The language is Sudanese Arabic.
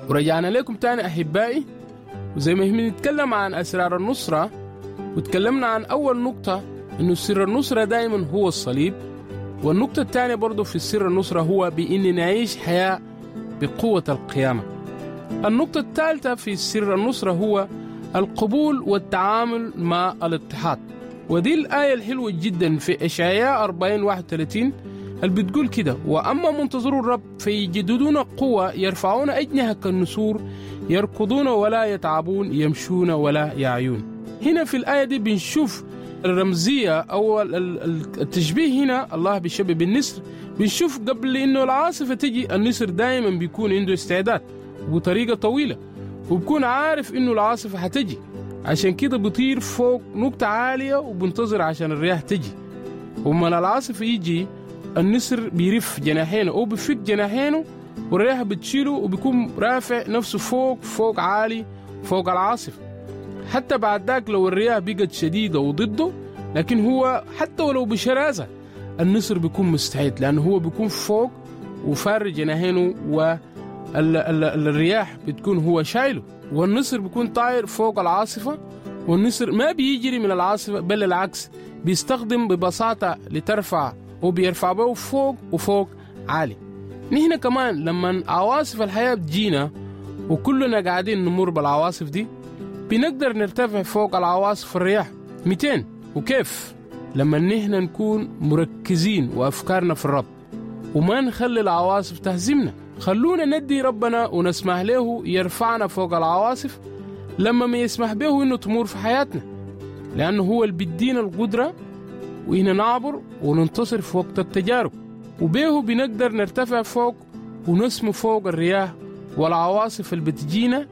ورجعنا لكم تاني أحبائي، وزي ما بنتكلم عن أسرار النصرة، وتكلمنا عن أول نقطة إنه سر النصرة دائما هو الصليب، والنقطة الثانية برضو في سر النصرة هو بإن نعيش حياة بقوة القيامة. النقطة الثالثة في سر النصرة هو القبول والتعامل مع الاضطهاد، ودي الآية الحلوة جدا في إشعياء 40:31 اللي بتقول كده: وأما منتظرو الرب فيجددون قوة، يرفعون أجنحة كالنسور، يركضون ولا يتعبون، يمشون ولا يعيون. هنا في الآية دي بنشوف الرمزية أو التشبيه. هنا الله بيشبه بالنسر. بنشوف قبل إنه العاصفة تجي النسر دائما بيكون عنده استعداد وبطريقة طويلة، وبكون عارف إنه العاصفة هتجي، عشان كده بيطير فوق نقطة عالية وبنتظر عشان الرياح تجي. ومن العاصفة يجي النسر بيرف جناحينه أو بيفك جناحينه والرياح بتشيله، وبيكون رافع نفسه فوق فوق عالي فوق العاصفة. حتى بعد ذاك لو الرياح بقت شديدة وضده، لكن هو حتى ولو بشراسة النسر بيكون مستعد، لأنه هو بيكون فوق وفار جناحينه والرياح بتكون هو شايله، والنسر بيكون طاير فوق العاصفة. والنسر ما بيجري من العاصفة، بل العكس بيستخدم ببساطة لترفع وبيرفع به فوق وفوق عالي. نحن كمان لما عواصف الحياة بتجينا وكلنا قاعدين نمر بالعواصف دي، بنقدر نرتفع فوق العواصف الرياح 200. وكيف؟ لما نحن نكون مركزين وأفكارنا في الرب وما نخلي العواصف تهزمنا. خلونا ندي ربنا ونسمح له يرفعنا فوق العواصف لما ما يسمح به إنه تمر في حياتنا، لأنه هو اللي بيدينا القدرة وإحنا نعبر وننتصر في وقت التجارب، وبيه بنقدر نرتفع فوق ونسمو فوق الرياح والعواصف اللي بتجينا